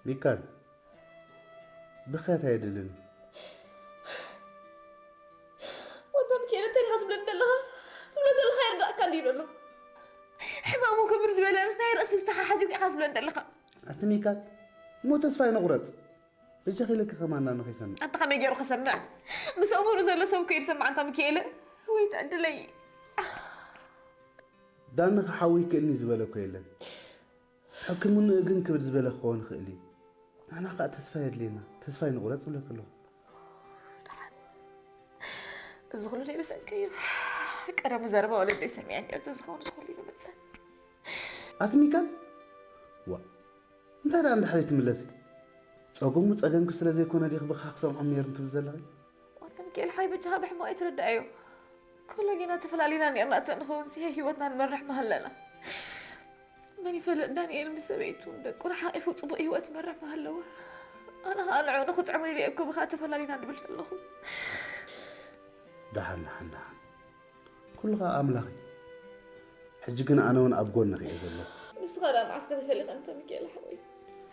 ሚካል፣ ብኽያት ኣየድልን። ወንታ ሚካኤል፣ እንታይ ኢኻ ትብለኒ ዘለኻ? ትብሎ ዘለኻ ይርዳእካ እንዲዩ ዘሎ። ሕማሙ ክብር ዝበለ ምስ ናይ ርእሲ ዝተሓሓዙ ኢኻ ትብለኒ ዘለኻ። ኣቲ ሚካል፣ እሞ ተስፋ ይንቑረጽ። በጃኺ ኢለኪ ከማን ዳኒ ከይሰምዕ። ኣንታ ከመይ ገይሩ ክሰምዕ? ምስ ኣእምሩ ዘሎ ሰብ እኮ እዩ ዝሰምዕ። ኣንታ ሚካኤል፣ ወይ ትዕድለይ። ዳኒ ክሓዊ ይክእልኒ ዝበለ እኮ የለን። ተሐክሙኒ ግን ክብል ዝበለ ክኸውን ይኽእል እዩ። ንሕና ከዓ ተስፋ የድልየና። ተስፋ ይንቑረጽ እብለኪ ኣለኹ። እዚ ኩሉ ናይ ብሰንኪ እዩ። ቀደሙ ዘረባ ወለደይ ሰሚዐ ነርተ ዝኸውን እዚ ኩሉ ይመፀ። ኣቲ ሚካል፣ ዋ፣ እንታይ ደኣ እንድሕር ትምለሲ? ጸገሙ ጸገምኪ ስለ ዘይኮነ ዲኺ ብኻ ክሰምዖም ነይሩ ትብል ዘለኺ? ኣንተ ሚካኤል ሓይ በጃኻ ብሕማቕ ኣይትረዳኣዮ። ኩሉ ጌና ተፈላሊና ነርና እተ ንኸውን ሲ ህይወትና ንመርሕ መሃለና። መን ይፈልጥ ዳንኤል ምስ ሰበይቱ ደቁን ሓቂፉ ጽቡቕ ህይወት መርሕ መሃለዎ። ኣነ ኸኣ ንዕኡ ንኽጥዕሞ ኢለ እኮ ብኻ ተፈላሊና ንብል ኣለኹ። ደሓን ደሓን ደሓን፣ ኩሉ ኸኣ ኣምላኽ እዩ። ሕጂ ግን ኣነ እውን ኣብ ጎንኺ እየ ዘለኹ። ንስኻ ደኣ መዓስ ከተፈሊኻ እንተ ሚካኤል ሓወይ?